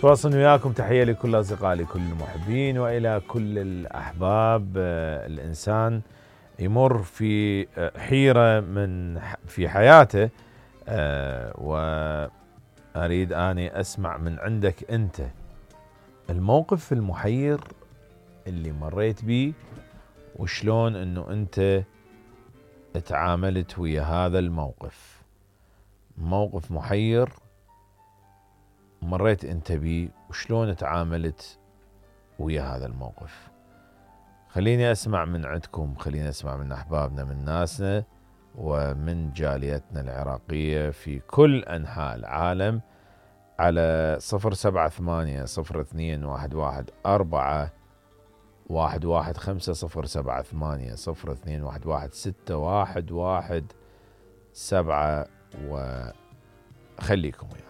تواصل وياكم. تحية لكل أصدقائي لكل المحبين وإلى كل الأحباب. الإنسان يمر في حيرة في حياته، وأريد أني أسمع من عندك أنت الموقف المحير اللي مريت بيه، وشلون أنه أنت تعاملت ويا هذا الموقف. موقف محير مريت أنت بيه وشلون تعاملت ويا هذا الموقف. خليني أسمع من عندكم، خليني أسمع من أحبابنا، من ناسنا ومن جاليتنا العراقية في كل أنحاء العالم على 078-022-115-078-021-611-7. وخليكم ويانا.